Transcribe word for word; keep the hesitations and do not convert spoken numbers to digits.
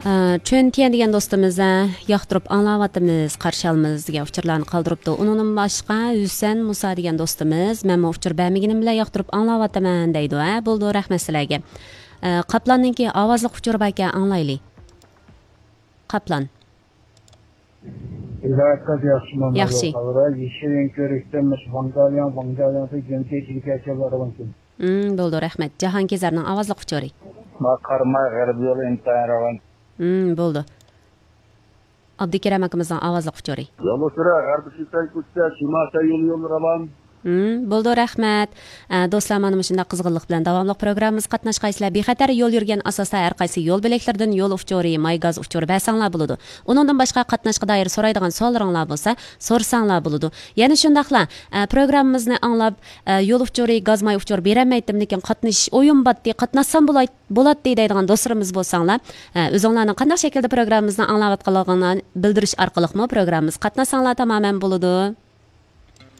چۈن تيەن دېگەن دوستىمىز، ھە، ياقتۇرۇپ ئاڭلاۋاتىمىز، قارشى ئالىمىز دېگەن ئۇچۇرلارنى قالدۇرۇپتۇ. ئۇنىڭدىن باشقا ھۈسەن مۇسا دېگەن دوستىمىز، مەنمۇ ئۇچۇر بەرمىگىنىم بىلەن ياقتۇرۇپ ئاڭلاۋاتىمەن دەيدۇ. ھە، بولىدۇ، رەھمەت سىلەرگە. ئە، قاپلاننىڭكى ئاۋازلىق ئۇچۇرى باركەن، ئاڭلايلى. قاپلان. ھىدايەت قىز ياخشىمۇ؟ ياخشى. يېشىل يېڭى كۆرۈكتە مۇشۇ ۋاڭجالياڭ، ۋاڭجالياڭ دېگەن كېچىگە كەچۈرۈپ راۋان كېلىدۇ. مم، بولىدۇ، رەھمەت. جاھانكېزەرنىڭ ئاۋازلىق ئۇچۇرى. ما قاراماي غەربىي يول ئىنتايىن راۋان. مم، بولىدۇ. ئابدۇكېرەم ئاكىمىزنىڭ ئاۋازلىق ئۇچۇرى. يول ئۇچۇرى غەربىي شىنخۇا كوچىسى، شىمال شىنخۇا يولى راۋان. مم، بولىدۇ، رەھمەت. ئە، دوستلار، مانا مۇشۇنداق قىزغىنلىق بىلەن داۋاملىق پروگراممىمىزغا قاتناشقايسىلەر. بىخەتەر يول يۈرگەن ئاساستا ھەر قايسى يول بۆلەكلىرىدىن يول ئۇچۇرى، ماي گاز ئۇچۇرى بەرسەڭلار بولىدۇ. ئۇنىڭدىن باشقا قاتناشقا دائىر سورايدىغان سوئاللىرىڭلار بولسا، سورىساڭلار بولىدۇ. يەنە شۇنداقلا، ئە، پروگراممىمىزنى ئاڭلاپ، ئە، يول ئۇچۇرى، گاز ماي ئۇچۇرى بېرەلمەيتتىم، لېكىن قاتنىشىش ئويۇم باتتى، قاتناشسام بولاي-، بولاتتى دەيدىغان دوستلىرىمىز بولساڭلار، ئە، ئۆزۈڭلارنىڭ قانداق شەكىلدە پروگراممىمىزنى ئاڭلاۋاتقانلىقىڭلارنى بىلدۈرۈش ئارقىلىقمۇ پروگراممىمىزغا قاتناشساڭلار تامامەن بولىدۇ.